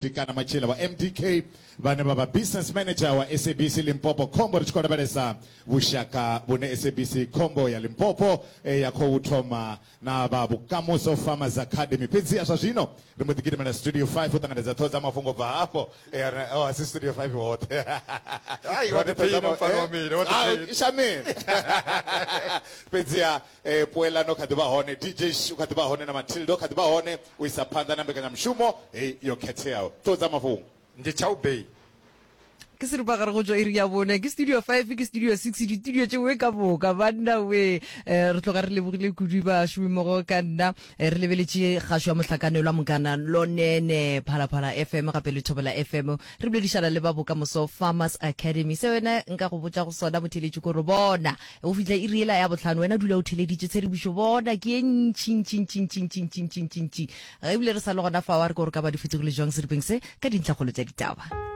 Dikana Matshila wa MDK vhane vha vha business manager wa SABC Limpopo Khombo ri tshi khou lavhelesa vhushaka vhune SABC Khombo ya Limpopo eh, ya khou thoma na vha Vhukamuso Farmers Academy. Fhedziha zwa zwino ri mbo ḓi gidimela studio 5 u ṱanganedza ṱhoho dza mafhungo bva hafho. Eh, ri- oh, a si studio 5 hoṱhe. Ai, wa Hone ṱhoho dza ḓiphina ma- mfana wa eh, mina, wa ah, ḓiphina. shamini. Fhedziha eh, Puelano kha ḓi vha hone, DJ Sh u kha ḓi vha hone na Matilda u kha ḓi vha hone. U isa phanḓa na mbekanyamushumo heyi yo khetheaho. Ṱhoho dza mafhungo. Ndi Chau Bay. Ke seripagare go tšwa iri ya bone, ke studio 5, ke studio 6, ditudio tšewe ka moka banna we. Eh, re tloga re lebogile kudu bašomimmogo ka nna. Eh, re lebeletše kgašo ya mohlakanelwa Mokana Lonene, Phalaphala FM gape le Thobela FM. Re boledišana le ba Bokamoso Farmers Academy. Se wena nka go botša go sona motheeletši kore bona go fihla iri yela ya bohlano wena dula o theleditše tshedimošo bona ke ye ntši ntši ntši ntši ntši ntši ntši ntši ntši. Ebile re sa le gona fao a re ke gore ka ba di fetogile jwang seripeng se ka dintlhakgolo tša ditaba.